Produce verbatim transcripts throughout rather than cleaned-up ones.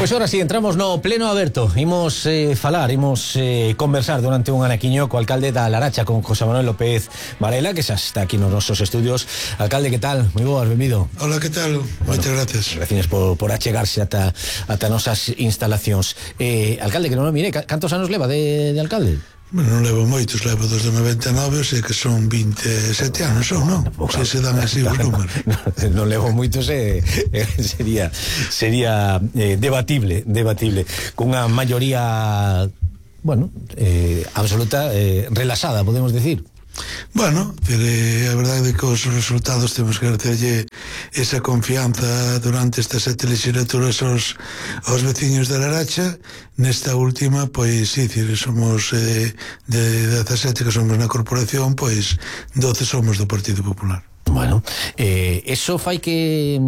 Pois ora si, entramos no pleno aberto. Imos eh, falar, imos eh, conversar durante un anaquiño co alcalde da Laracha, con José Manuel López Varela, que xa está aquí nos nosos estudios. Alcalde, que tal? Moi boas, benvido. Hola, que tal? Bueno, moitas gracias. Gracias por, por achegarse ata, ata nosas instalacións. Eh, alcalde, que non o mire, cantos anos leva de, de alcalde? Bueno, non levo moitos, levo desde noventa e nove, sei que son vinte e sete anos, son, non? Se se dan así os números. Non, non levo moitos, eh, eh, sería sería eh, debatible, debatible, cunha maioría, bueno, eh, absoluta, eh, relaxada, podemos decir. Bueno, a verdade é que os resultados temos que agradecerlle esa confianza durante estas sete legislaturas aos, aos veciños de Laracha. Nesta última, pois, sí, somos eh, de dezasete que somos na corporación, pois doce somos do Partido Popular. Bueno, eh, eso fai que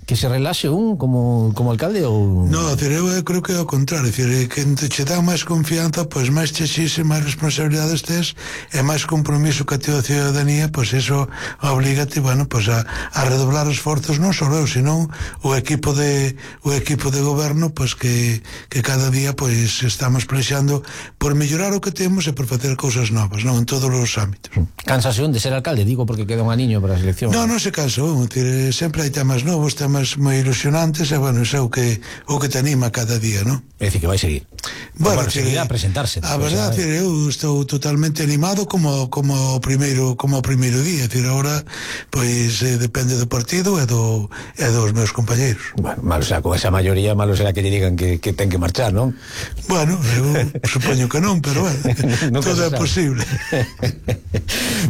que se relaxe un como, como alcalde ou... No, eu creo que é o contrario, decir, que che dá máis confianza, pois máis che xise, máis responsabilidades tes e máis compromiso que a tua ciudadanía, pois eso oblígate, bueno, pois a, a redoblar esforzos, non só eu, senón o equipo de o equipo de goberno, pois que, que cada día pois estamos plexando por mellorar o que temos e por facer cousas novas, non, en todos os ámbitos. Cansase un de ser alcalde, digo, porque queda un aniño para as eleccións. Non, non se cansa un, decir, sempre hai temas novos, temas moi ilusionantes, e, bueno, é o que, o que te anima cada día, non? É dicir, que vai seguir. Bueno, bueno seguirá a presentarse. A verdade, decir, eu estou totalmente animado como como o primeiro como o primeiro día, decir, agora, pois, eh, depende do partido e do e dos meus compañeiros. Bueno, malo será, con esa maioría, malo será que lle digan que, que ten que marchar, non? Bueno, eu supoño que non, pero, bueno, todo é posible.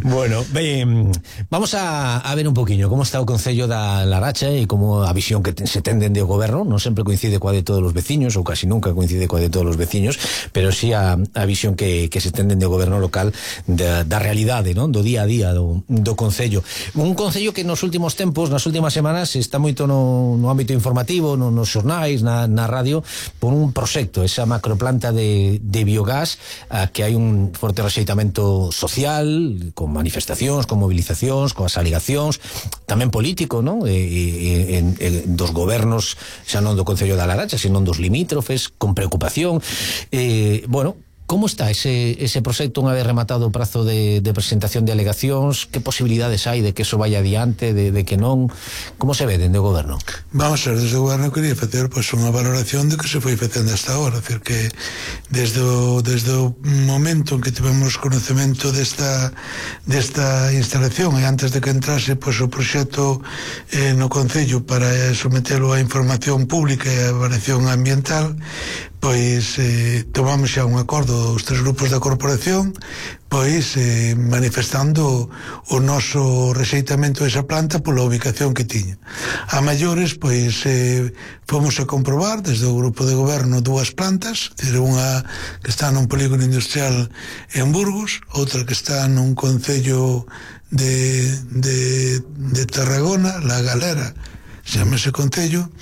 Bueno, ben, vamos a, a ver un poquinho como está o Concello da Laracha e como a visión que te, se ten dende o goberno. Non sempre coincide coa de todos os veciños, ou casi nunca coincide coa de todos os veciños, pero sí a, a visión que, que se ten dende o goberno local da, da realidade, non? Do día a día do, do Concello. Un Concello que nos últimos tempos, nas últimas semanas, está moito no, no ámbito informativo, no, nos xornais, na, na radio, por un proxecto, esa macroplanta de, de biogás, a que hai un forte rexeitamento social, con manifestacións, con movilizacións, con as alegacións, tamén político, non? E, e, en, en, dos gobernos, xa non do Concello da Laracha, senón dos limítrofes, con preocupación. Eh, bueno, como está ese, ese proxecto unha vez rematado o prazo de, de presentación de alegacións? Que posibilidades hai de que eso vaya adiante, de, de que non? Como se ve dende o goberno? Vamos a ver, desde o goberno quería facer pois, unha valoración de que se foi facendo hasta ahora, decir que desde o, desde o momento en que tivemos conocemento desta desta instalación e antes de que entrase pois, o proxecto eh, no Concello para sometelo a información pública e a avaliación ambiental, pois eh, tomamos xa un acordo os tres grupos da corporación, pois eh, manifestando o noso rexeitamento desa planta pola ubicación que tiña. A maiores, pois eh, fomos a comprobar desde o grupo de goberno dúas plantas, unha que está nun polígono industrial en Burgos, outra que está nun concello de, de, de Tarragona, La Galera, chamase Concello,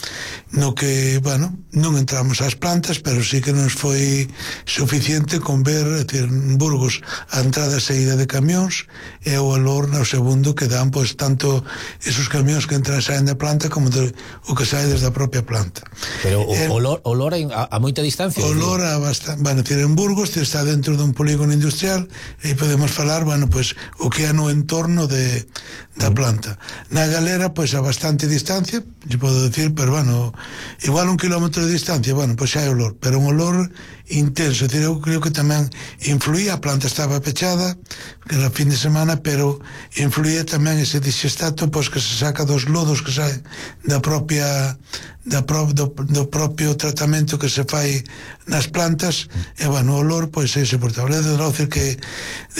no que, bueno, non entramos ás plantas, pero sí que nos foi suficiente con ver, é dicir, en Burgos a entrada e saída de camións e o olor no segundo que dan, pois, tanto esos camións que entran e saen da planta como de, o que sae desde a propia planta. Pero o eh, olor, olor a, a moita distancia? Olor a bastante, bueno, decir, en Burgos está dentro dun polígono industrial e podemos falar, bueno, pois, o que é no entorno de, da planta. Na Galera, pois, a bastante distancia, lle podo decir, pero, bueno, igual un kilómetro de distancia, bueno, pois xa hai olor, pero un olor intenso, decir, eu creo que tamén influía, a planta estaba pechada, que era fin de semana, pero influía tamén ese disestato, pois, que se saca dos lodos que sae da propia da pro, do, do propio tratamento que se fai nas plantas, e, bueno, o olor, pois, é insoportable. Desde logo decir que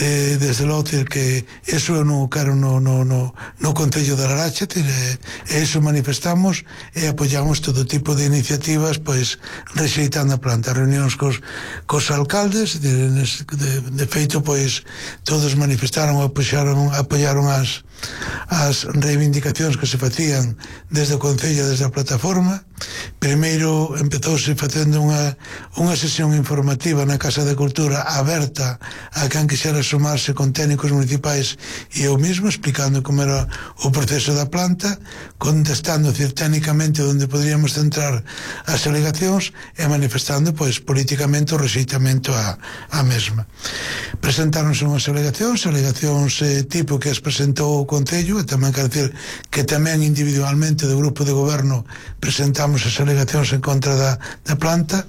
eh, desde logo decir que eso eu non quero no, no, no, no Concello de Laracha, e, e iso manifestamos e apoiamos todo tipo de iniciativas, pois, rexeitando a planta, reunións cos, cos alcaldes, de, de, de feito, pois, todos manifestaron, apoiaron, apoiaron as as reivindicacións que se facían desde o Concello, desde a plataforma. Primeiro empezouse facendo unha, unha sesión informativa na Casa de Cultura aberta a quen quixera sumarse con técnicos municipais e eu mesmo, explicando como era o proceso da planta, contestando, decir, técnicamente onde poderíamos centrar as alegacións e manifestando, pois, políticamente o rexeitamento a, a mesma. Presentáronse unhas alegacións, alegacións eh, tipo que as presentou o Concello, e tamén quero decir que tamén individualmente do grupo de goberno presentamos as alegacións en contra da, da planta,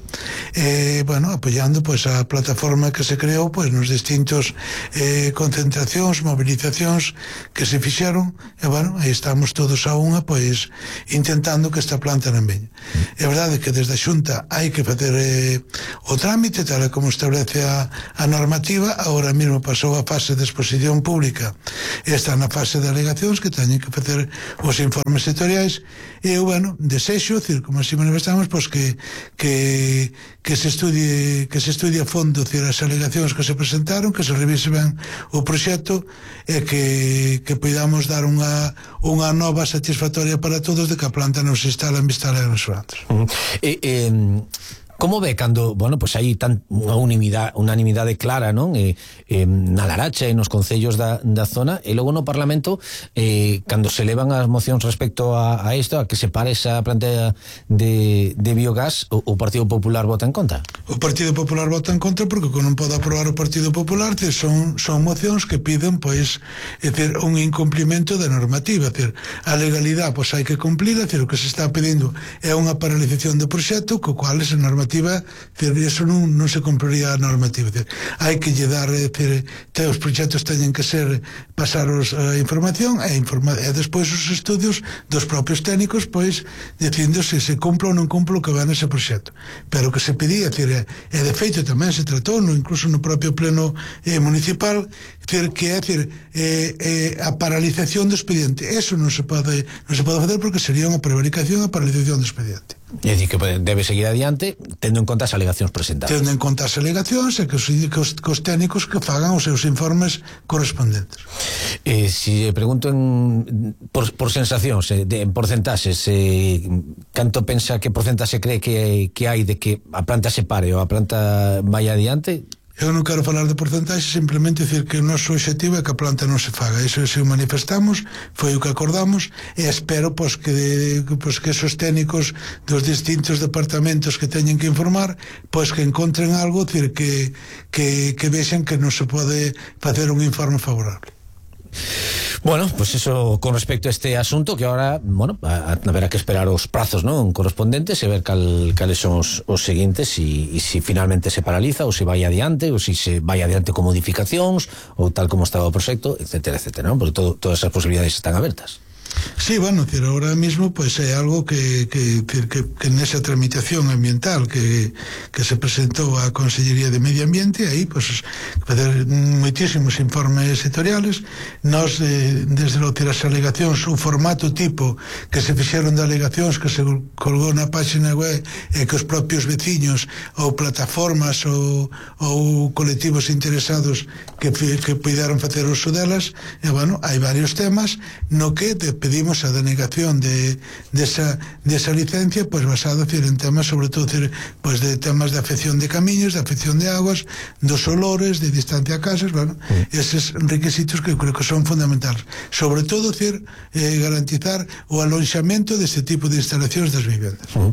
e, bueno, apoiando, pois, a plataforma que se creou, pois, nos distintos eh, concentracións, movilizacións que se fixeron, e, bueno, aí estamos todos a unha, pois, intentando que esta planta non veña. É verdade que desde a Xunta hai que facer eh, o trámite, tal como establece a, a normativa. Agora mesmo pasou a fase de exposición pública, está na fase de alegacións que teñen que facer os informes sectoriais, e eu, bueno, desexo, decir, como así manifestamos, pois que, que, que se estudie que se estudie a fondo, decir, as alegacións que se presentaron, que se revise ben o proxecto, e que, que podamos dar unha, unha nova satisfactoria para todos de que a planta non se instala en Vistala de Restaurantes. Uh-huh. E, eh, como ve cando, bueno, pois pues hai tan unha unanimidade, unanimidade clara, non? E, eh, na Laracha e nos concellos da, da zona, e logo no Parlamento, eh, cando se levan as mocións respecto a, a isto, a que se pare esa planta de, de biogás, o, o Partido Popular vota en contra? O Partido Popular vota en contra porque non pode aprobar o Partido Popular, que son, son mocións que piden, pois, é decir, un incumplimento da normativa, é decir, a legalidade, pois, hai que cumplir, é decir, o que se está pedindo é unha paralización do proxecto, co cual esa normativa, eso non, non se cumpliría a normativa. Hai que lle dar, decir, te, os proxectos teñen que ser pasaros a información e, informa, e despois os estudios dos propios técnicos, pois, dicindo se se cumpla ou non cumpla o que va nese proxecto. Pero o que se pedía, decir, e de feito tamén se tratou, no, incluso no propio pleno eh, municipal, decir, que é decir, eh, eh, a paralización do expediente. Eso non se pode non se pode facer porque sería unha prevaricación a paralización do expediente. É dicir, que debe seguir adiante tendo en conta as alegacións presentadas. Tendo en conta as alegacións e que os, que os, que os técnicos que fagan os seus informes correspondentes. Eh, si pregunto en, por, por sensacións, eh, de, en porcentaxes, eh, canto pensa que porcentaxe cree que, que hai de que a planta se pare ou a planta vai adiante? Eu non quero falar de porcentaxe, simplemente decir que o noso objetivo é que a planta non se faga. Iso se o manifestamos, foi o que acordamos, e espero pois, que, de, pois, que esos técnicos dos distintos departamentos que teñen que informar, pois que encontren algo, decir, que, que, que vexen que non se pode facer un informe favorable. Bueno, pues eso con respecto a este asunto, que ahora, bueno, a, a, habrá que esperar os prazos, ¿no?, correspondientes e ver cal, cales son os, os seguintes e si finalmente se paraliza ou se vai adiante ou si se vai adiante con modificacións ou tal como estaba o proxecto, etcétera, etcétera, ¿no? Porque todo, todas esas posibilidades están abertas. Sí, bueno, decir, ahora mismo pues é algo que, que, que, que nesa tramitación ambiental que, que se presentou á Consellería de Medio Ambiente, aí pues facer moitísimos informes sectoriales. Nos, eh, desde lo que as alegacións, o formato tipo que se fixeron de alegacións que se colgou na página web e que os propios veciños ou plataformas ou, ou colectivos interesados que, que puderon facer uso delas, e bueno, hai varios temas no que de pedimos a denegación de, de, esa, de esa licencia, pues basado, decir, en temas, sobre todo, decir, pues de temas de afección de camiños, de afección de aguas, dos olores, de distancia a casas, bueno, mm. eses requisitos que creo que son fundamentales. Sobre todo, decir, eh, garantizar o alonxamento deste tipo de instalacións das vivendas. Mm.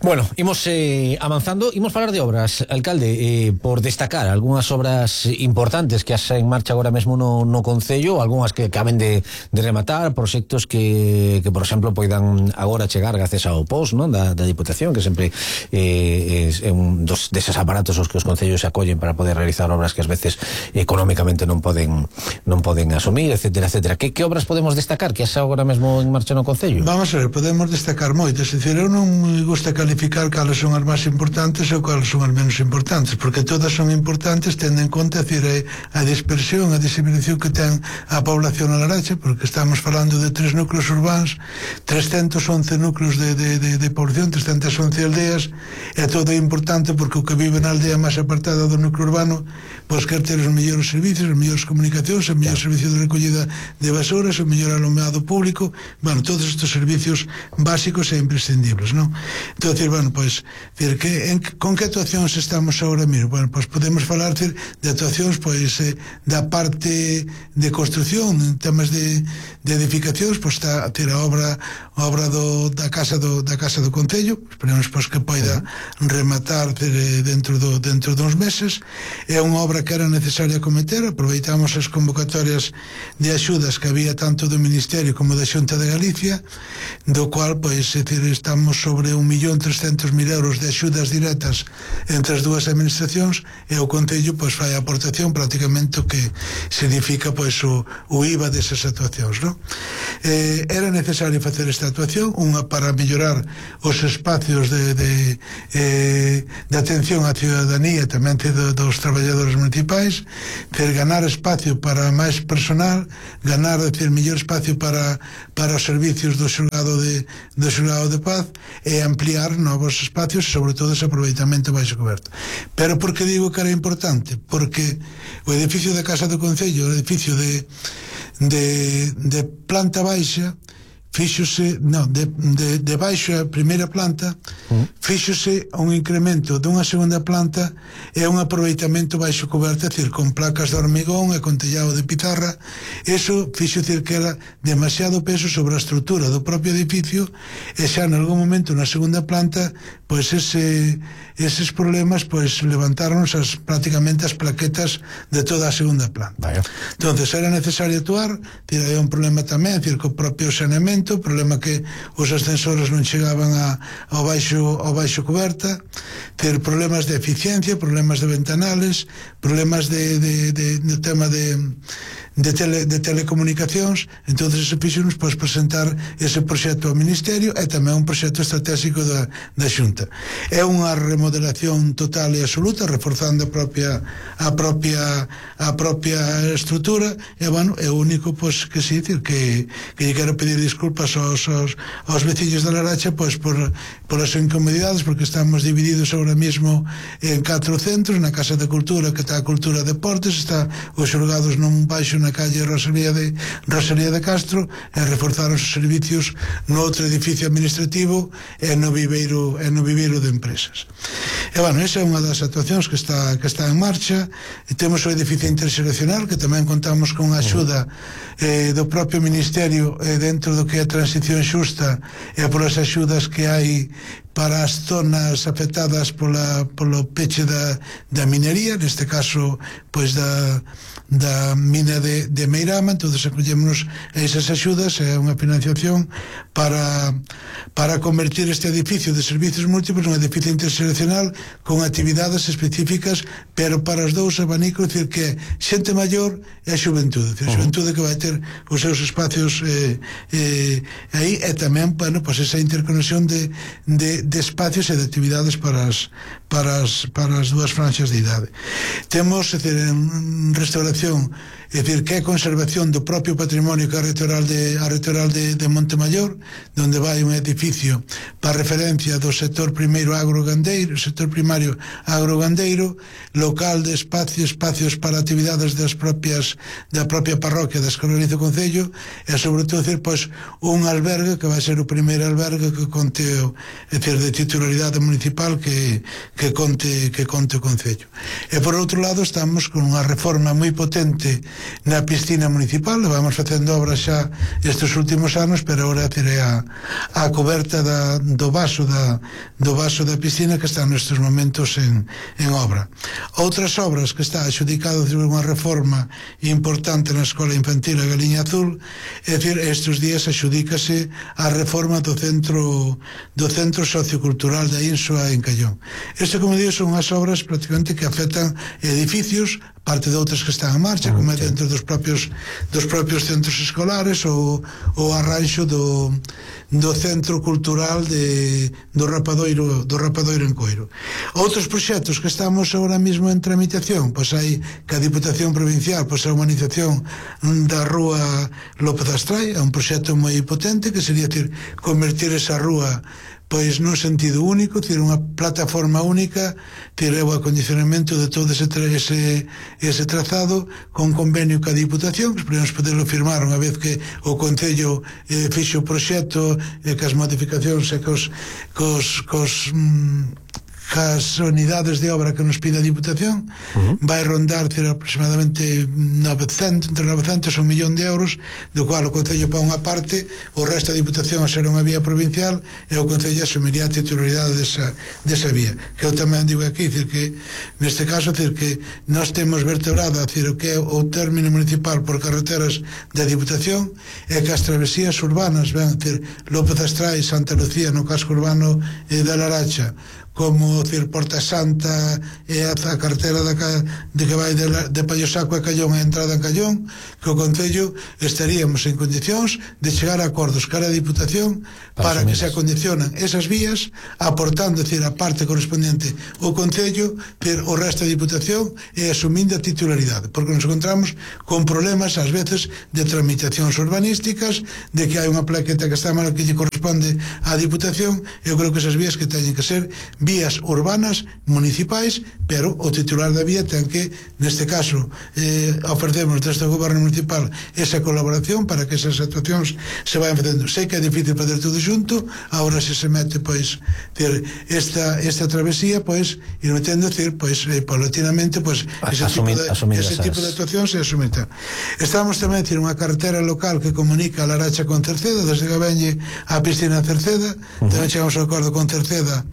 Bueno, imos eh, avanzando, imos falar de obras, alcalde, eh, por destacar algunhas obras importantes que has en marcha agora mesmo no, no Concello, algunhas que acaben de, de rematar, proxectos que, que, por exemplo, poidan agora chegar gracias ao P O S, non, da, da Diputación, que sempre eh, é un dos deses aparatos os que os concellos se acollen para poder realizar obras que ás veces económicamente non poden non poden asumir, etcétera, etcétera. Que, que obras podemos destacar que as agora mesmo en marcha no Concello? Vamos a ver, podemos destacar moitas, é dicir, eu non me gusta calificar cales son as máis importantes ou cales son as menos importantes, porque todas son importantes tendo en conta, decir, a dispersión, a diseminación que ten a población na Laracha, porque estamos falando de tres núcleos urbanos, trescentos once núcleos de, de, de, de población, trescentas once aldeas, é todo importante porque o que vive na aldea máis apartada do núcleo urbano pois quer ter os mellores servicios, as mellores comunicacións, os mellores servicios de recollida de basuras, o mellor alumeado público, bueno, todos estes servicios básicos e imprescindibles, non? Entón, decir, bueno, pois, decir, que, en, con que actuacións estamos agora mesmo? Bueno, pois podemos falar, decir, de actuacións, pois, eh, da parte de construción, en temas de, de edificacións, pois está, decir, a obra, a obra do, da casa do, da casa do Concello, esperemos, pois, que poida rematar, decir, dentro do, dentro duns meses. É unha obra que era necesaria cometer, aproveitamos as convocatorias de axudas que había tanto do Ministerio como da Xunta de Galicia, do cual, pois, decir, estamos sobre un millón trescentos mil euros de axudas directas entre as dúas administracións, e o Concello, pois, fai a aportación prácticamente o que significa, pois, o, o I V A desas actuacións, non? Eh, era necesario facer esta actuación, unha para mellorar os espacios de, de, eh, de atención á ciudadanía, tamén do, dos traballadores municipais, ter ganar espacio para máis personal, ganar, decir, mellor espacio para, para os servicios do xulgado de, do xulgado de paz, e ampliar novos espacios, sobre todo ese aproveitamento baixo coberto. Pero por que digo que era importante? Porque o edificio da Casa do Concello, o edificio de, de, de planta baixa, fíxose, non, de, de, de baixo a primeira planta, fíxose un incremento dunha segunda planta e un aproveitamento baixo coberta, decir, con placas de hormigón e con tellado de pizarra. Eso fixo, decir, que era demasiado peso sobre a estrutura do propio edificio, e xa en algún momento na segunda planta, pois ese, eses problemas, pois levantaron as, prácticamente as plaquetas de toda a segunda planta. Vaya. Entonces era necesario actuar, decir, hai un problema tamén, decir, co propio saneamento, o problema que os ascensores non chegaban a, ao, baixo, ao baixo coberta, ter problemas de eficiencia, problemas de ventanales, problemas de, de, de, de tema de, de, tele, de telecomunicacións. Entonces se fixonos, pois, presentar ese proxecto ao Ministerio, e tamén un proxecto estratégico da, da Xunta. É unha remodelación total e absoluta, reforzando a propia a propia a propia estrutura, e, bueno, é o único, pois, que sí, decir, que, que lle quero pedir disculpas aos, aos, aos veciños da Laracha, pois, por, por as incomodidades, porque estamos divididos ahora mismo en catro centros. Na Casa de Cultura, que está a Cultura Deportes, está os xulgados nun baixo na calle Rosalía de, Rosalía de Castro, e reforzar os servicios no outro edificio administrativo e no viveiro, e no viveiro de empresas. E, bueno, esa é unha das actuacións que está, que está en marcha. E temos o edificio interxeracional, que tamén contamos con a axuda eh, do propio Ministerio, eh, dentro do que é a transición xusta, e por as axudas que hai para as zonas afectadas pola, polo peche da, da minería, neste caso, pois, da, da mina de, de Meirama. Entón, acollémonos a esas axudas, é unha financiación para, para convertir este edificio de servicios múltiples nun edificio interxeracional con actividades específicas, pero para os dous abanicos, decir, que xente maior e a xuventude, decir, a xuventude que vai ter os seus espacios eh, eh, aí, e tamén, bueno, pois, esa interconexión de, de de espacios e de actividades para as, para as, para as dúas franxas de idade. Temos, é dicir, en restauración, é dicir, que é conservación do propio patrimonio, que é a retoral de, a retoral de, de Montemayor, donde vai un edificio para referencia do sector primeiro agrogandeiro, sector primario agrogandeiro, local de espacio, espacios para actividades das propias, da propia parroquia da Escolarizo Concello, e sobre todo, decir, pois, un albergue que vai ser o primeiro albergue que conte, é dicir, de titularidade municipal que, que conte que conte o Concello. E por outro lado, estamos con unha reforma moi potente na piscina municipal. Vamos facendo obras xa estes últimos anos, pero agora teré a, a coberta da, do vaso da, do vaso da piscina, que está nestes momentos en, en obra. Outras obras que está adjudicado unha reforma importante na Escola Infantil a Galiña Azul, é dicir, estes días adjudícase a reforma do centro do centro sociocultural da Insua en Callón. Isto, como digo, son as obras prácticamente que afectan edificios, parte de outras que están en marcha, como é dentro dos propios dos propios centros escolares ou o arranxo do, do Centro Cultural de, do Rapadoiro do Rapadoiro en Coiro. Outros proxectos que estamos agora mesmo en tramitación, pois hai que a Diputación Provincial, pois a humanización da Rúa López Astrai, é un proxecto moi potente que sería, decir, convertir esa rúa pois nun sentido único, ter unha plataforma única, ter o acondicionamento de todo ese, ese, ese trazado con convenio ca Diputación, que esperemos poderlo firmar unha vez que o Concello eh, fixe o proxecto e eh, que as modificacións e cos, cos, cos mm, cas unidades de obra que nos pide a Diputación. Uh-huh. Vai rondar ter aproximadamente novecentos, entre novecentos e un millón de euros, do cual o Concello pa unha parte, o resto da Diputación a ser unha vía provincial, e o Concello asumiría a titularidade desa, desa vía, que eu tamén digo aquí, decir que neste caso, decir que nós temos vertebrado, decir, o que é o término municipal por carreteras da Diputación, e que as travesías urbanas, ben, decir, López Astrai, Santa Lucía no casco urbano eh, da Laracha, como, decir, Porta Santa e a, a cartera da, de que vai de, de Pallosaco a Callón e a entrada en Callón, que o Concello estaríamos en condicións de chegar a acordos cara a Diputación para, para que se acondicionan esas vías, aportando, decir, a parte correspondiente o Concello, pero o resto da Diputación e asumindo a titularidade, porque nos encontramos con problemas ás veces de tramitacións urbanísticas, de que hai unha plaqueta que está mal que lle corresponde á Diputación. Eu creo que esas vías que teñen que ser vías urbanas municipais, pero o titular da vía ten que, neste caso, eh, ofrecemos desde o goberno municipal esa colaboración para que esas actuacións se vayan facendo. Sei que é difícil fazer tudo junto, agora se se mete, pois, ter esta, esta travesía, pois, ir metendo, decir, pois, eh, paulatinamente, pois, ese, asumir, tipo, de, ese tipo de actuacións e asumir. Estamos tamén, decir, unha cartera local que comunica a Laracha con Cerceda, desde Gabeñe á piscina Cerceda. Uh-huh. Tamén chegamos a acordo con Cerceda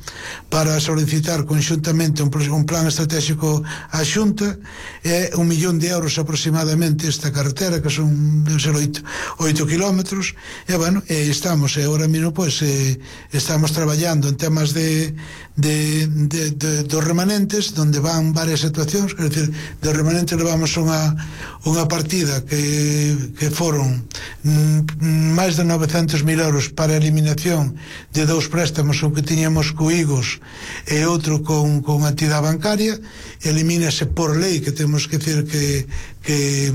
para solicitar conxuntamente un, un plan estratégico á Xunta, e un millón de euros aproximadamente esta carretera, que son oito kilómetros, e bueno, e estamos, e agora mesmo, pois, eh, estamos traballando en temas de de, de, de dos remanentes, donde van varias actuacións, quer dizer, de remanentes levamos unha unha partida que, que foron mm, máis de novecentos mil euros para a eliminación de dous préstamos, un que tiñamos co Igos e outro con, con a entidade bancaria. Elimínase por lei, que temos que decir que, que,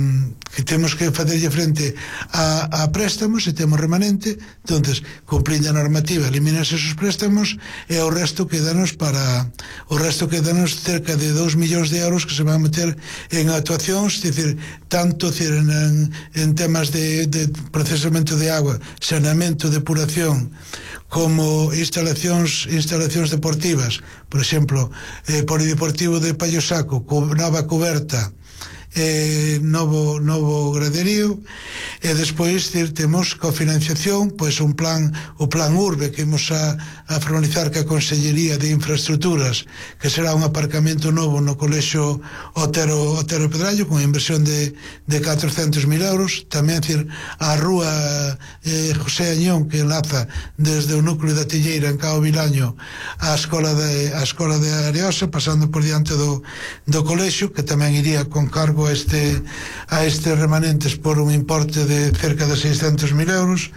que temos que facerlle frente a, a préstamos, e temos remanente. Entonces, cumplindo a normativa, elimínase esos préstamos, e o resto quedanos para o resto quedanos cerca de dous millóns de euros que se van a meter en actuacións, decir, tanto decir, en, en temas de, de procesamento de agua, saneamento, depuración, como instalacións instalacións deportivas, por exemplo, eh, polideportivo de Pallosaco, co nova coberta, eh, novo, novo graderío, e despois dir, temos cofinanciación, pois un plan, o plan Urbe, que imos a, a formalizar ca Consellería de Infraestructuras, que será un aparcamento novo no colexio Otero, Otero Pedrallo, con inversión de, de catrocentos mil euros. Tamén, dir, a rúa eh, José Añón, que enlaza desde o núcleo da Tilleira en Cao Vilaño á escola de, a escola de Areosa, pasando por diante do, do colexio, que tamén iría con cargo a este, a estes remanentes por un importe de cerca de seiscentos mil euros.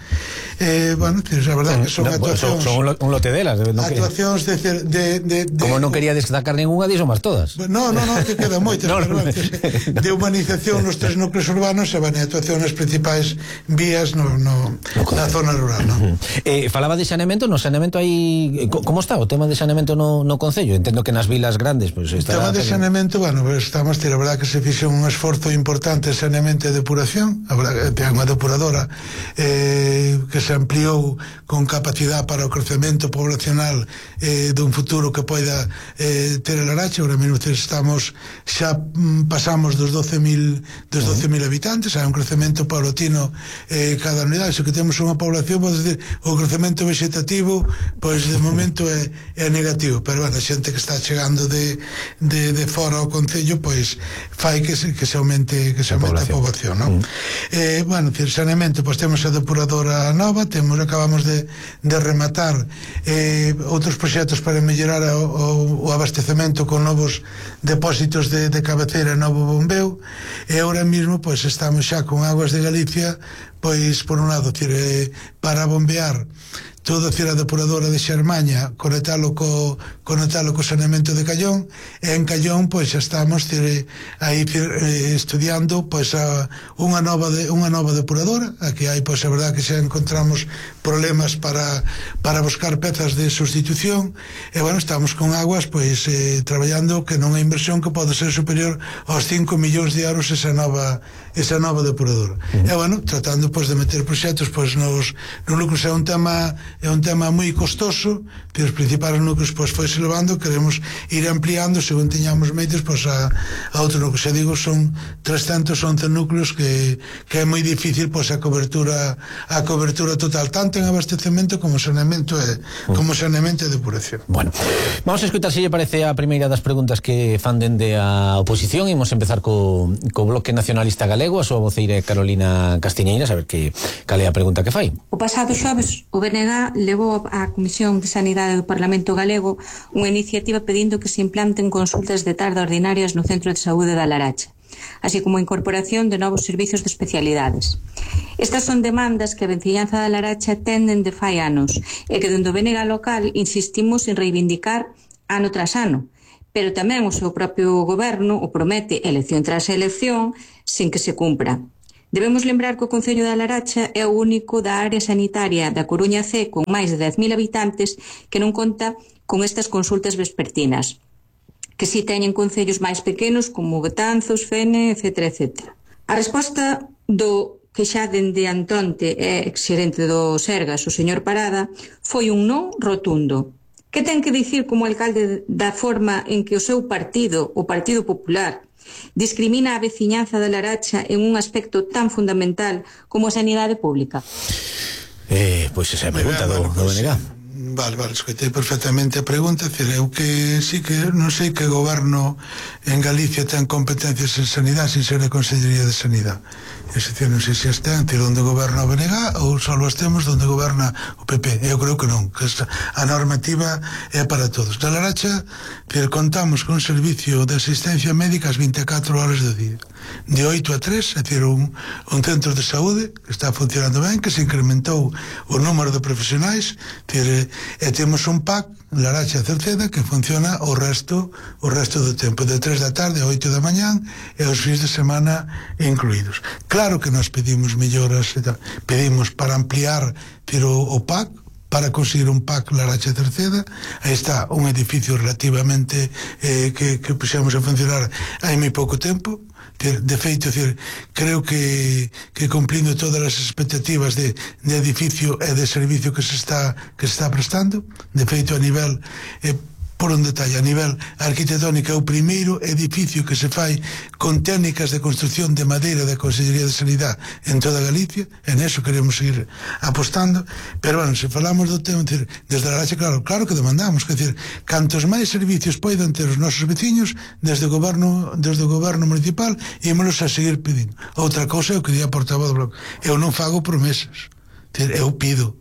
Eh, bueno, a verdade que son no, actuacións, son, son un lote delas, no actuacións de, de, de, de como non quería destacar ninguna, diso máis todas. No, no, no, que quedan moitas no, no, de humanización nos tres núcleos urbanos, e van a actuación nas principais vías no, no, no na zona rural, no? Uh-huh. eh, Falaba de saneamento, no saneamento hai, como está o tema de saneamento no, no Concello? Entendo que nas vilas grandes, pues, está... O tema de saneamento, bueno, pues, estamos, a verdad que se fixe un esforzo importante en saneamento e depuración. A verdad que ten unha depuradora eh, que se ampliou con capacidade para o crecemento poblacional eh, dun futuro que poida eh, ter a Laracha. Ahora mesmo estamos, xa mm, pasamos dos doce mil dos doce mil habitantes, hai un crecemento paulatino eh, cada unidade. Se que temos unha población, pode decir, o crecemento vegetativo, pois de momento é, é negativo, pero bueno, a xente que está chegando de, de, de fora ao Concello, pois fai que se, que se aumente que se aumente a poboación, non? Mm. Eh, bueno, saneamento, pois temos a depuradora nova, nova, temos, acabamos de, de rematar eh, outros proxectos para mellorar o, o, o abastecemento con novos depósitos de, de cabeceira e novo bombeo, e ahora mesmo pois estamos xa con Aguas de Galicia, pois por un lado tire, para bombear toda a depuradora de Xermaña, conectalo co, conectalo co saneamento de Callón, e en Callón pois xa estamos tire, aí tire, eh, estudiando pois a, unha nova de, unha nova depuradora. Aquí hai pois a verdade que xa encontramos problemas para, para buscar pezas de sustitución, e bueno, estamos con Aguas pois eh, traballando que non é inversión que pode ser superior aos cinco millóns de euros esa nova esa nova depuradora. Uh-huh. E bueno, tratando pois de meter proxectos pois nos, nos núcleos. É un tema é un tema moi costoso, que os principais núcleos pois foi se levando, queremos ir ampliando según teñamos medios pois a, a outro núcleo. Se digo, son trescentos once núcleos que, que é moi difícil pois a cobertura a cobertura total, tanto en abastecemento como saneamento e uh-huh. como saneamento e depuración. Bueno, vamos a escutar se lle parece a primeira das preguntas que fan dende a oposición. Imos empezar co, co Bloque Nacionalista Galego, a súa voceira Carolina Castiñeiras, a ver que cal é a pregunta que fai. O pasado xoves o B N G levou á Comisión de Sanidade do Parlamento Galego unha iniciativa pedindo que se implanten consultas de tarde ordinarias no Centro de Saúde da Laracha, así como a incorporación de novos servizos de especialidades. Estas son demandas que a vecinanza da Laracha tenden de fai anos e que dende o B N G local insistimos en reivindicar ano tras ano, pero tamén o seu propio goberno o promete elección tras elección sin que se cumpra. Debemos lembrar que o Concello da Laracha é o único da área sanitaria da Coruña C con máis de dez mil habitantes que non conta con estas consultas vespertinas, que si teñen concellos máis pequenos como Betanzos, Fene, etcétera, etcétera. A resposta do que xa dende Antonte é exxerente do Sergas, o señor Parada, foi un non rotundo. Que ten que dicir como alcalde da forma en que o seu partido, o Partido Popular, discrimina a veciñanza da Laracha en un aspecto tan fundamental como a sanidade pública? Eh, pois esa é a pregunta do, do B N G. Vale, vale, escoitei perfectamente a pregunta. Decir, eu que sí que non sei que goberno en Galicia ten competencias en sanidade sin ser a Consellería de Sanidade. Es decir, non sei se as ten, decir, onde goberna o B N G ou só as temos onde goberna o P P. Eu creo que non, que a normativa é para todos. Na Laracha, decir, contamos con un servicio de asistencia médica as vinte e catro horas do día, de oito a tres, é dicir, un, un centro de saúde que está funcionando ben, que se incrementou o número de profesionais, decir, e temos un P A C, Laracha Cerceda, que funciona o resto o resto do tempo, de tres da tarde a oito da mañán e os fins de semana incluídos. Claro que nos pedimos melloras, pedimos para ampliar tiro, o P A C, para conseguir un P A C Laracha Cerceda. Aí está un edificio relativamente eh, que, que puxemos a funcionar hai moi pouco tempo. De feito, decir, creo que, que cumplindo todas as expectativas de, de edificio e de servicio que se está que se está prestando. De feito, a nivel eh, por un detalle, a nivel arquitectónico é o primeiro edificio que se fai con técnicas de construcción de madeira da Consellería de Sanidade en toda Galicia, en eso queremos seguir apostando. Pero bueno, se falamos do tema, decir, desde a Laracha, claro, claro que demandamos, que decir, cantos máis servicios poidan ter os nosos veciños desde o goberno, desde o goberno municipal, ímonos a seguir pedindo. Outra cousa é o que di a portavoz do Bloque, eu non fago promesas, decir, eu pido,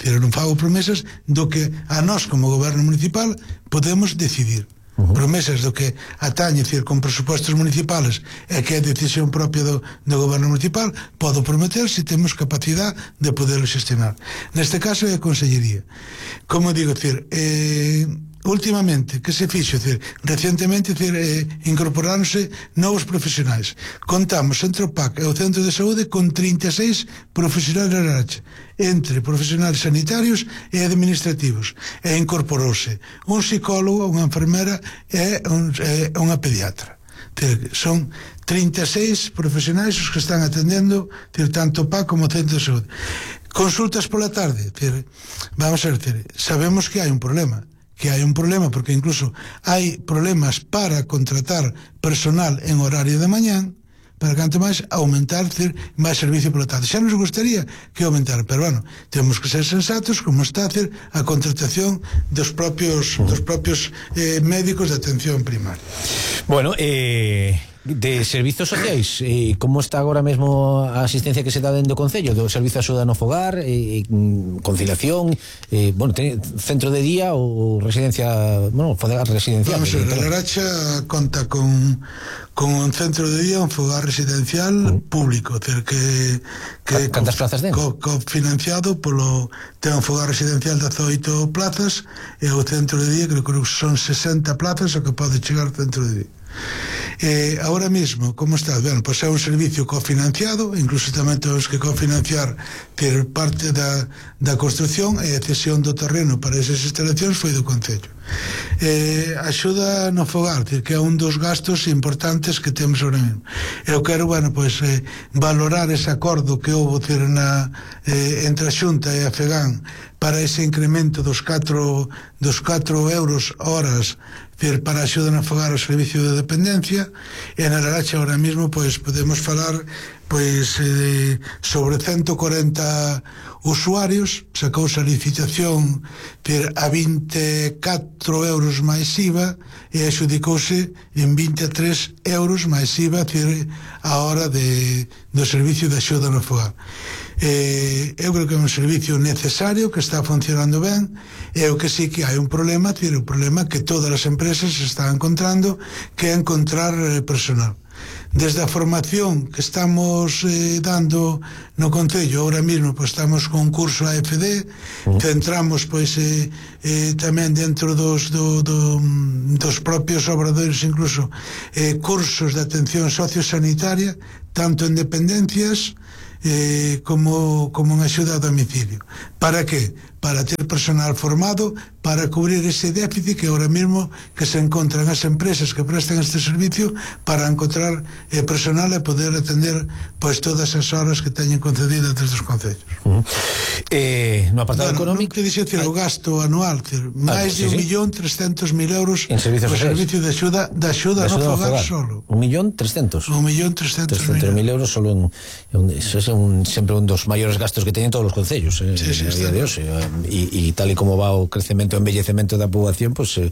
pero non fago promesas do que a nós como goberno municipal podemos decidir. Uh-huh. Promesas do que atañe, decir, con presupuestos municipales e que é decisión propia do, do goberno municipal, podo prometer se temos capacidade de poderlo xestionar. Neste caso é a Consellería. Como digo, decir, eh, últimamente, que se fixo, decir, recientemente, decir, eh, incorporáronse novos profesionais. Contamos entre o P A C e o Centro de Saúde con trinta e seis profesionais de Laracha, entre profesionais sanitarios e administrativos, e incorporouse un psicólogo, unha enfermera e un, e unha pediatra. Son trinta e seis profesionais os que están atendendo, tanto o P A C como o Centro de Saúde. Consultas pola tarde, vamos a ver, sabemos que hai un problema, que hai un problema porque incluso hai problemas para contratar personal en horario de mañán, para canto máis aumentar, decir, máis servicio pola tarde. Xa nos gustaría que aumentar, pero bueno, temos que ser sensatos como está, decir, a contratación dos propios dos propios eh, médicos de atención primaria. Bueno, eh De servizos sociais, eh, como está agora mesmo a asistencia que se dá dentro do Concello, do servizo de axuda no fogar, eh, conciliación, eh, bueno, ten, centro de día ou residencia, bueno, fogar residencial. Vamos a ver, a Laracha conta con con un centro de día, un fogar residencial uh. público, é dicir, que que cantas plazas ten? Co, cofinanciado polo, ten un fogar residencial de dezoito plazas e o centro de día creo que son sesenta plazas o que pode chegar ao centro de día. Eh, ahora mismo, como está? Bueno, pois é un servicio cofinanciado, incluso tamén temos que cofinanciar ter parte da, da construcción e a cesión do terreno para esas instalacións foi do Concello. Eh, axuda no fogar, que é un dos gastos importantes que temos ahora mesmo. Eu quero, bueno, pois eh, valorar ese acordo que houve ter na, eh, entre a Xunta e a FEGAN para ese incremento dos catro dos catro euros horas para a axuda no fogar ao servicio de dependencia, e na Laracha ahora mismo pois podemos falar pois eh, sobre ciento cuarenta usuarios, sacouse a licitación per a vinte e catro euros máis I V A e adjudicouse en vinte e tres euros máis I V A a hora de, do servicio de axuda no fogar. Eh, eu creo que é un servicio necesario que está funcionando ben, e o que sí que hai un problema, é un problema que todas as empresas se están encontrando, que é encontrar eh, personal. Desde a formación que estamos eh, dando no Concello, ahora mismo pues, estamos con un curso A F D, uh. centramos pois eh, eh, tamén dentro dos, do, do, dos propios obradoiros incluso eh, cursos de atención sociosanitaria, tanto en dependencias eh, como, como en axuda a domicilio. Para que? Para ter personal formado para cubrir ese déficit que ahora mismo que se encontran as empresas que prestan este servicio, para encontrar eh, personal e poder atender pois todas as horas que teñen concedidas desde os concellos. Uh -huh. eh, no apartado bueno, económico non te dixe, o gasto anual máis ah, de sí, un sí. millón trescentos mil euros en servicios o servicio de axuda de axuda no fogar solo. Un millón trescentos un millón trescentos mil euros solo en, en, eso es un, sempre un dos maiores gastos que teñen todos os concellos eh, sí, sí, a día de hoxe, e tal e como va o crecemento e embellecemento da poboación, pues eh,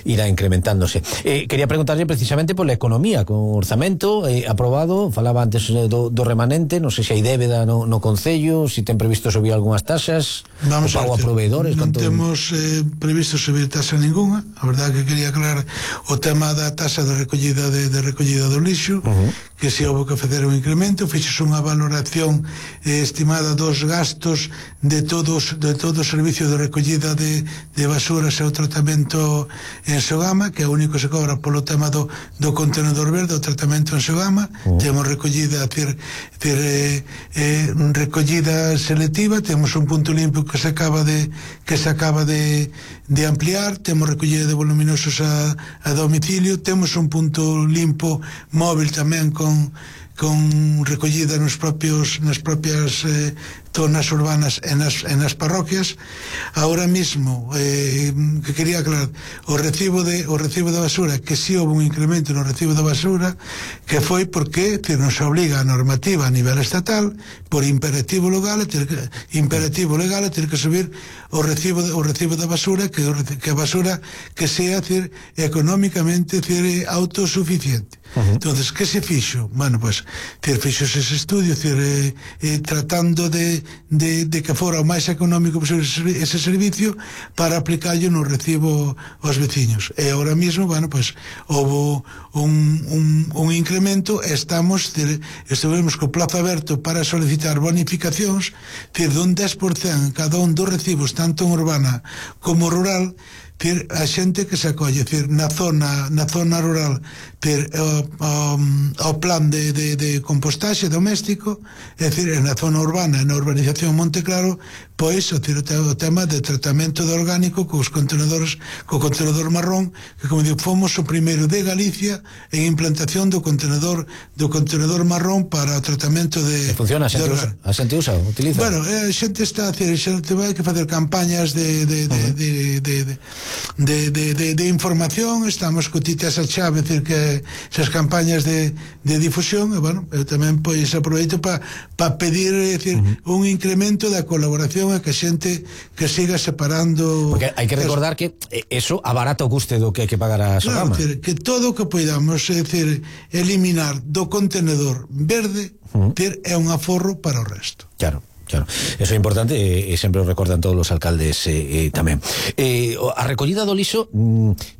irá incrementándose. Eh, quería preguntarlle precisamente por la economía, con o orzamento eh, aprobado, falaba antes do, do remanente, non sei se hai débeda no, no Concello, se si ten previsto subir algunhas taxas, vamos o pago a proveedores. Non canto... temos eh, previsto subir taxa ninguna. A verdade que quería aclarar o tema da taxa de recollida de, de recollida do lixo, uh -huh. que se houve que facer un incremento, fixos unha valoración eh, estimada dos gastos de todos de todo o servicio de recollida de, de basuras e o tratamento en Sogama, que é o único que se cobra polo tema do, do contenedor verde, o tratamento en Sogama. Uh. Temos recollida tir, tir, eh, eh, recollida selectiva, temos un punto limpo que se acaba de que se acaba de, de ampliar, temos recollida de voluminosos a, a domicilio, temos un punto limpo móvil tamén con con recollida nos propios nas propias eh, zonas urbanas e nas, en nas parroquias. Ahora mismo eh, que quería aclarar o recibo de o recibo de basura, que si sí houve un incremento no recibo de basura, que foi porque que nos obliga a normativa a nivel estatal por imperativo legal ter que, imperativo legal a ter que subir o recibo de, o recibo da basura, que que a basura que sea decir, económicamente decir, autosuficiente. Uh -huh. Entonces, que se fixo? Bueno, pues ter fixos ese estudio, ter, eh, eh, tratando de, de, de que fora o máis económico posible ese servicio para aplicarlo no recibo aos veciños. E ahora mismo, bueno, pues houve un, un, un incremento e estamos ter, estivemos co plazo aberto para solicitar bonificacións, ter dun dez por cento en cada un dos recibos, tanto en urbana como rural, ter a xente que se acolle, ter na zona na zona rural, ter o, o, o plan de, de, de compostaxe doméstico, é dicir, na zona urbana, na urbanización Monte Claro, pois o, ter, o tema de tratamento de orgánico cos contenedores, co contenedor marrón, que como digo, fomos o primeiro de Galicia en implantación do contenedor do contenedor marrón para o tratamento de... E funciona, a xente usa, a xente usa, utiliza? Bueno, a xente está a hacer, xente vai que facer campañas de de, de, uh -huh. de, de, de De, de, de, de información, estamos co Tite esa chave, decir que esas campañas de, de difusión, e bueno, eu tamén pois aproveito para pa pedir, decir, uh -huh. un incremento da colaboración cuestión é que a xente que siga separando. Porque hai que recordar que eso abarata o custe do que hai que pagar a Sogama. Claro, que todo o que poidamos, é dicir, eliminar do contenedor verde, uh-huh. ter, é un aforro para o resto. Claro. Claro, eso é importante e, e sempre o recordan todos os alcaldes eh, eh, tamén. Eh, a recollida do lixo,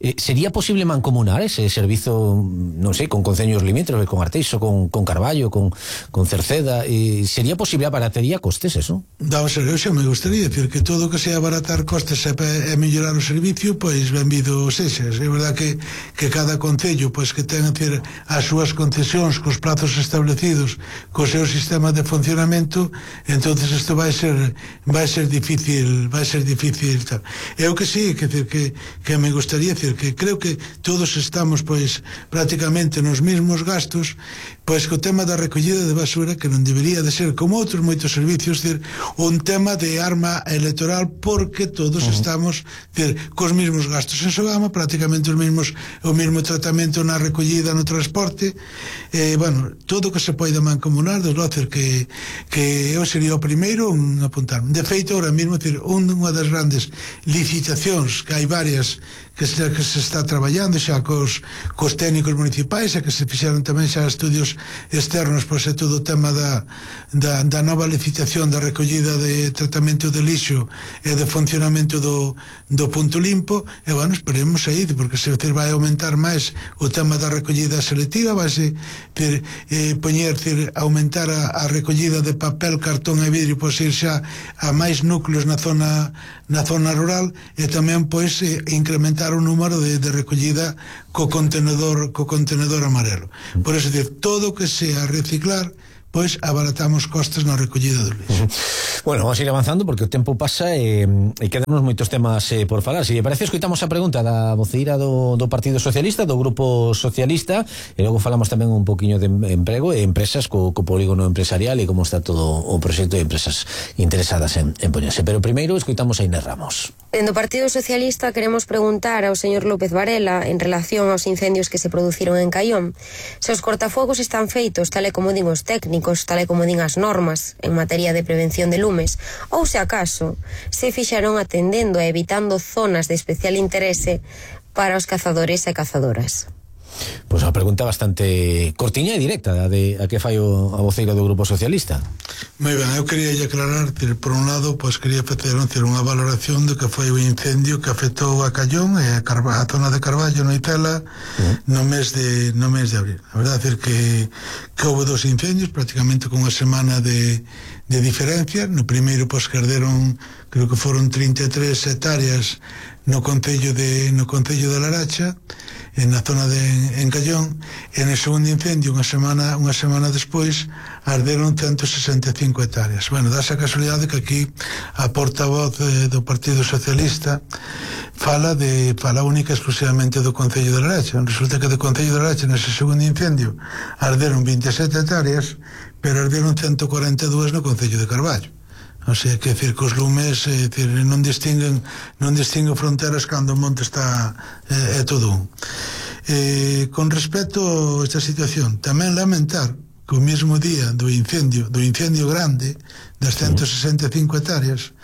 eh, sería posible mancomunar ese servizo, non sei, con conceños limítrofes, con Arteixo, con, con Carballo, con, con Cerceda, eh, sería posible abarataría costes eso? Vamos a ver, eu xa me gustaría decir que todo o que sea abaratar costes e, e mellorar o servicio, pois benvido sexa. É verdad que, que cada concello pois que ten decir, as súas concesións cos plazos establecidos, co seu sistema de funcionamento, entón isto vai ser vai ser difícil, vai ser difícil tal. Eu que sí, que decir que que me gustaría decir que creo que todos estamos pois prácticamente nos mesmos gastos, pois co tema da recollida de basura que non debería de ser como outros moitos servicios, decir, un tema de arma electoral porque todos uh-huh. estamos, decir, cos mesmos gastos en Sogama, prácticamente os mesmos o mesmo tratamento na recollida, no transporte, eh, bueno, todo o que se poida mancomunar, desde logo que que eu sería o primeiro un apuntar. De feito, ahora mesmo, decir, unha das grandes licitacións que hai varias que se, que se está traballando xa cos, cos técnicos municipais e que se fixeron tamén xa estudios externos, pois é todo o tema da, da, da nova licitación da recollida de tratamento de lixo e de funcionamento do, do punto limpo, e bueno, esperemos aí, porque se vai aumentar máis o tema da recollida selectiva, vai se ter, eh, poñer, ter, aumentar a, a recollida de papel, cartón e vidrio, pois ir xa a máis núcleos na zona na zona rural, e tamén pois eh, incrementar o número de, de recollida co contenedor co contenedor amarelo. Por eso, decir, todo o que sea reciclar, pois abaratamos costes na recollida do lixo. Uh-huh. Bueno, vamos a ir avanzando porque o tempo pasa e, e quedamos moitos temas eh, por falar. Se lle parece, escoitamos a pregunta da voceira do, do Partido Socialista, do Grupo Socialista, e logo falamos tamén un poquinho de emprego e empresas co, co polígono empresarial e como está todo o proxecto de empresas interesadas en, en poñerse. Pero primeiro escoitamos a Inés Ramos. En do Partido Socialista queremos preguntar ao señor López Varela en relación aos incendios que se produciron en Caión. Se os cortafuegos están feitos tal e como din os técnicos, tal e como din as normas en materia de prevención de lumes, ou se acaso se fixaron atendendo e evitando zonas de especial interese para os cazadores e cazadoras. Pois a pregunta bastante cortiña e directa a, de, a que fai o, a voceira do Grupo Socialista. Moi ben, eu quería aclarar, tir, por un lado, pois quería facer tir, unha valoración do que foi o incendio que afectou a Caión e a, Carva, a zona de Carballo, no Itela, uh-huh. no mes de no mes de abril. A verdade é que, que houve dos incendios, prácticamente con unha semana de, de diferencia. No primeiro, pois, que arderon, creo que foron trinta e tres hectáreas no concello de no concello de Laracha, en na zona de en Caión, e no segundo incendio, unha semana unha semana despois, arderon ciento sesenta e cinco hectáreas. Bueno, dá esa casualidade que aquí a portavoz eh, do Partido Socialista fala de fala única exclusivamente do concello de Laracha. Resulta que do concello de Laracha nese segundo incendio arderon vinte e sete hectáreas, pero arderon ciento cuarenta e dúas no concello de Carballo. O sea, que decir que os lumes eh, decir, non distinguen non distinguen fronteras cando o monte está é eh, todo un. Eh, con respecto a esta situación, tamén lamentar que o mesmo día do incendio do incendio grande das ciento sesenta e cinco hectáreas,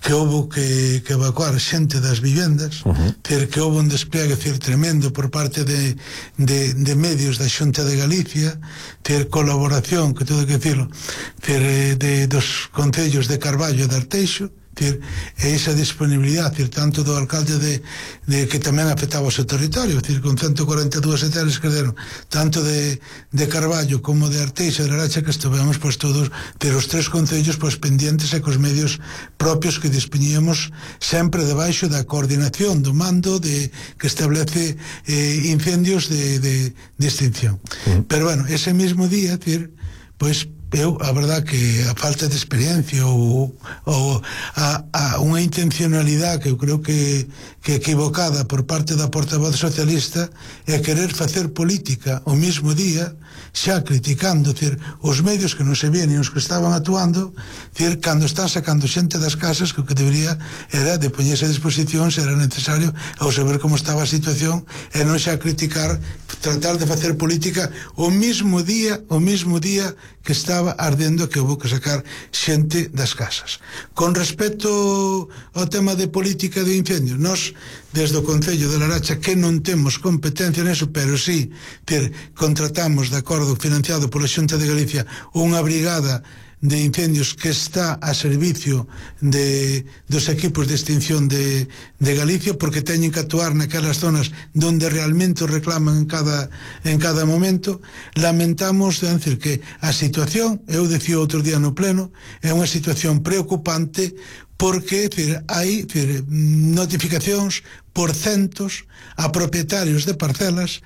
que houve que, que evacuar xente das vivendas, uh-huh. ter que houve un despliegue decir, tremendo por parte de, de, de medios da Xunta de Galicia, ter colaboración, que todo que decirlo, ter de, dos concellos de Carballo e de Arteixo, ter esa disponibilidade, ter tanto do alcalde de, de que tamén afectaba o seu territorio, ter con ciento cuarenta e dúas hectáreas que deron tanto de, de Carballo como de Arteixo e de Laracha, que estuvemos pois todos ter os tres concellos pois pendientes e cos medios propios que dispoñíamos sempre debaixo da coordinación do mando de que establece eh, incendios de, de, de extinción. Uh-huh. Pero bueno, ese mismo día, ter, pois eu, a verdad que a falta de experiencia ou, ou a, a unha intencionalidade que eu creo que, que equivocada por parte da portavoz socialista é querer facer política o mismo día, xa criticando decir, os medios que non se vían e os que estaban actuando, decir, cando están sacando xente das casas, que o que debería era de poñerse a disposición se era necesario ao saber como estaba a situación e non xa criticar, tratar de facer política o mismo día o mismo día que está acaba ardendo que houve que sacar xente das casas. Con respecto ao tema de política de incendios, nós desde o Concello de Laracha que non temos competencia neso, pero sí ter, contratamos de acordo financiado pola Xunta de Galicia unha brigada de incendios que está a servicio de, dos equipos de extinción de, de Galicia, porque teñen que actuar naquelas zonas donde realmente reclaman en cada, en cada momento. Lamentamos, é dicir, que a situación, eu decía outro día no pleno, é unha situación preocupante, porque decir, hai decir, notificacións por centos a propietarios de parcelas,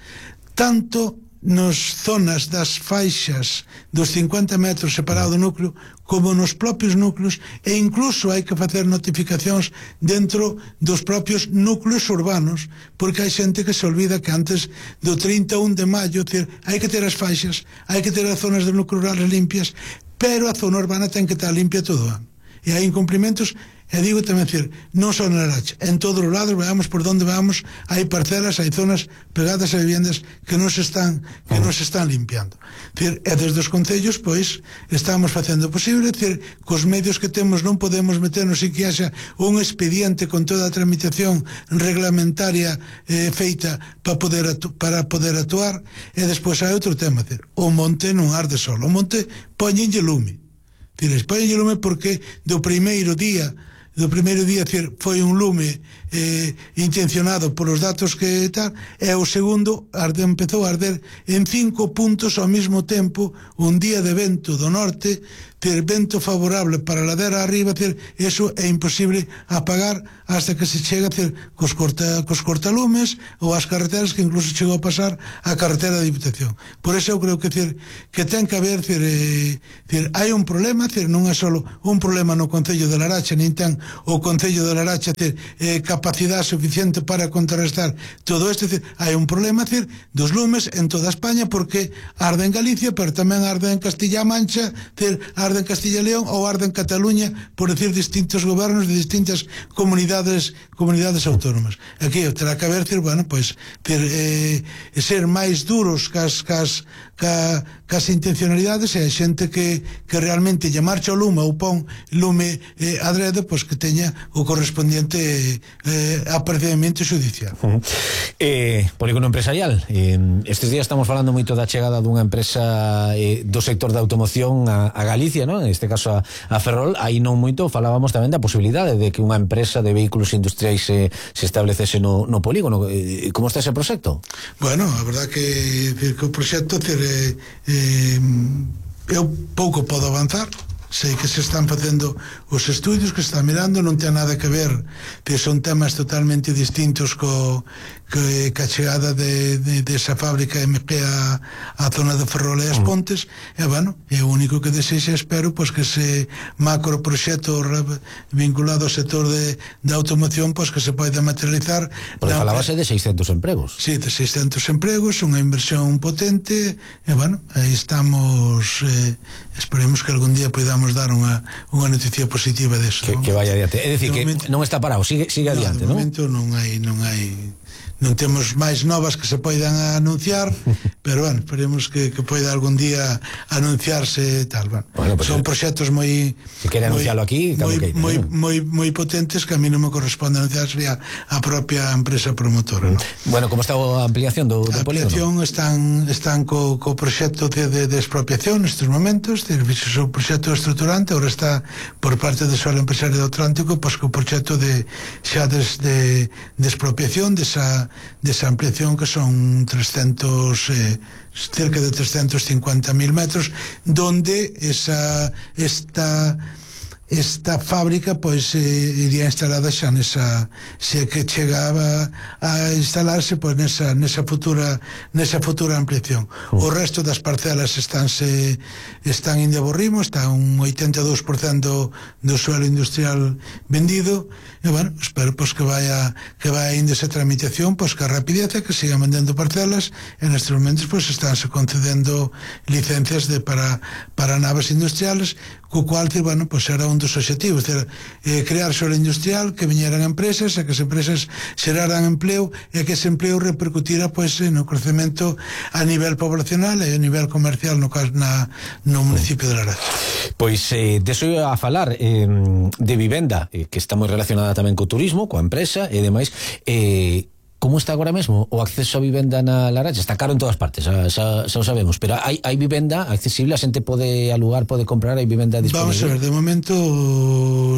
tanto nos zonas das faixas dos cincuenta metros separado do núcleo como nos propios núcleos, e incluso hai que facer notificacións dentro dos propios núcleos urbanos, porque hai xente que se olvida que antes do trinta e un de maio hai que ter as faixas, hai que ter as zonas de núcleo rurales limpias, pero a zona urbana ten que estar limpia todo o ano, e hai incumprimentos. E digo tamén, decir, non só na Laracha, en todos os lados, veamos por onde vamos, hai parcelas, hai zonas pegadas a viviendas que non se están que non se están limpiando. Decir, e desde os concellos, pois, estamos facendo o posible, decir, cos medios que temos non podemos meternos en que haxa un expediente con toda a tramitación reglamentaria eh, feita para poder, para poder actuar, e despois hai outro tema, decir, o monte non arde solo, o monte poñenlle lume. Decir, poñenlle lume porque do primeiro día do primeiro día decir, foi un lume eh, intencionado polos datos que tal, e o segundo arde, empezou a arder en cinco puntos ao mesmo tempo, un día de vento do norte, ter vento favorable para a ladera arriba, ter, eso é imposible apagar hasta que se chega ter, cos, corta, cos cortalumes ou as carreteras, que incluso chegou a pasar a carretera de Diputación. Por eso eu creo que ter, que ten que haber ter, eh, ter, hai un problema, ter, non é só un problema no Concello de Laracha, nin ten o Concello de Laracha ter eh, capacidade suficiente para contrarrestar todo isto, ter, hai un problema ter, dos lumes en toda España, porque arde en Galicia, pero tamén arde en Castilla-A Mancha, ter, arde en Castilla e León ou arde en Cataluña, por decir distintos gobernos de distintas comunidades comunidades autónomas. Aquí terá que haber, ter, bueno, pues, ter, eh, ser máis duros cas, cas, cas, cas intencionalidades, e a xente que, que realmente lle marcha o lume ou pon lume eh, adrede, pois que teña o correspondiente eh, aparecemento xudicial. Uh -huh. eh, Polígono empresarial, eh, estes días estamos falando moito da chegada dunha empresa eh, do sector da automoción a, a Galicia, ¿no? En este caso a, a Ferrol. Aí non moito falábamos tamén da posibilidade de que unha empresa de vehículos industriais se, se establecese no, no polígono. Eh, como está ese proxecto? Bueno, a verdad que, que o proxecto eh, eh, eu pouco podo avanzar. Sei que se están facendo os estudios, que se están mirando, non ten nada que ver, que son temas totalmente distintos co, que, que a chegada de, de, de esa fábrica M P a, a zona de Ferrol e as Pontes, e bueno, é o único que desexa, espero, pois que ese macro proxecto vinculado ao sector de, de automoción, pois que se poida materializar. Porque falábase de seiscentos empregos. Sí, de seiscentos empregos, unha inversión potente, e bueno, aí estamos, eh, esperemos que algún día podamos dar unha, unha noticia positiva deso. Que, que vaya adiante. É dicir, que momento, non está parado, sigue, sigue no, adiante, non? De momento non hai, non hai non temos máis novas que se poidan anunciar, pero bueno, esperemos que, que poida algún día anunciarse tal, bueno, bueno pues son proxectos moi si quere anunciarlo aquí, moi, que moi, ¿no? moi, moi potentes, que a mí non me corresponde anunciar, sería a propia empresa promotora, ¿no? Bueno, como está a ampliación do, do polígono? A ampliación están, están co, co proxecto de, de, de expropiación nestes momentos, o proxecto estruturante, ahora está por parte do Solo Empresario do Atlántico, pois co proxecto de xa des, de, de expropiación desa desa ampliación, que son trescentos eh, cerca de trescentos cincuenta mil metros, donde esa esta esta fábrica pois eh, iría instalada xa nesa, se que chegaba a instalarse pois nesa, nesa futura nesa futura ampliación. O resto das parcelas estánse están indo a borrimo, está un oitenta e dous por cento do suelo industrial vendido, e bueno, espero pois que vaya que vaya indo esa tramitación, pois que a rapidez, que sigan vendendo parcelas, e nestes momentos pois estánse concedendo licencias de para para naves industriales, co cual, bueno, pois era un dos obxectivos, é eh, crear solo industrial, que viñeran empresas, e que as empresas xeraran empleo, e que ese empleo repercutira pois, no crecemento a nivel poblacional e a nivel comercial no caso na, no municipio de Laracha. Pois eh, deso a falar eh, de vivenda, eh, que está moi relacionada tamén co turismo, coa empresa e demais. eh, Como está agora mesmo o acceso a vivenda na Laracha? Está caro en todas partes, xa, xa, xa o sabemos, pero hai, hai vivenda accesible, a xente pode alugar, pode comprar, hai vivenda disponible. Vamos a ver, de momento,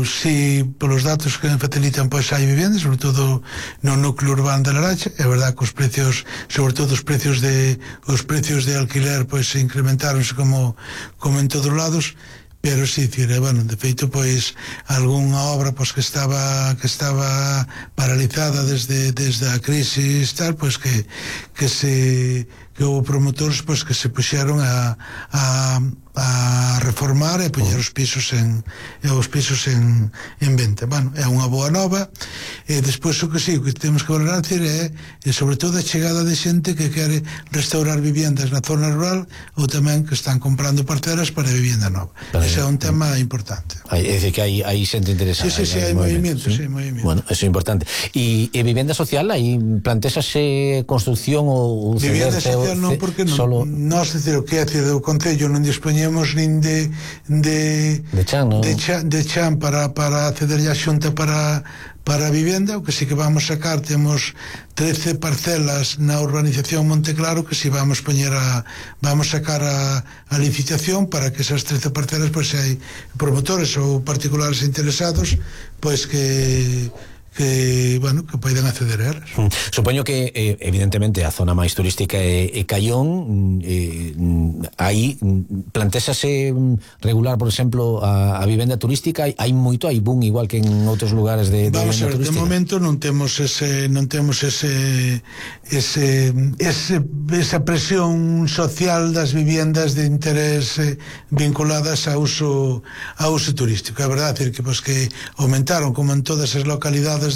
si polos datos que me facilitan, pois hai vivenda, sobre todo no núcleo urbano de Laracha. É verdade que os precios, sobre todo os precios de os precios de alquiler, pois se incrementaronse como como en todos lados. Pero sí, decir, bueno, de feito, pois, algunha obra pois, que estaba que estaba paralizada desde desde a crisis tal, pois que que se que houve promotores pois que se puxeron a a a reformar e poñer os pisos en os pisos en, en venta. Bueno, é unha boa nova. E despois o que sí, o que temos que valorar é, é sobre todo a chegada de xente que quere restaurar viviendas na zona rural ou tamén que están comprando parcelas para vivienda nova. Ese é un tema importante. Hai, é dicir que hai, hai xente interesada. Sí, sí, sí, hai, hai movimento, sí, movimento. Bueno, eso é importante. E, e vivenda social, aí plantexase construcción ou vivenda social non, porque non, solo... nós, decir, o que é decir, o Concello non dispoñemos nin de de de chan, ¿no? de chan, de chan para, para acceder a xunta para para a vivenda. O que sí que vamos sacar, temos trece parcelas na urbanización Monteclaro que si vamos poñer a vamos sacar a, a licitación para que esas trece parcelas, pois, se hai promotores ou particulares interesados, pois que que, bueno, que poden acceder a elas. Mm. Supoño que, eh, evidentemente, a zona máis turística é, é Caión. eh, aí plantexase regular, por exemplo, a, a vivenda turística. Hai, hai moito, hai boom, igual que en outros lugares de, de Vamos vivenda a ver, turística. de momento non temos ese non temos ese ese, ese esa presión social das viviendas de interés eh, vinculadas a uso a uso turístico. É verdade, decir, que, pues, que aumentaron como en todas as localidades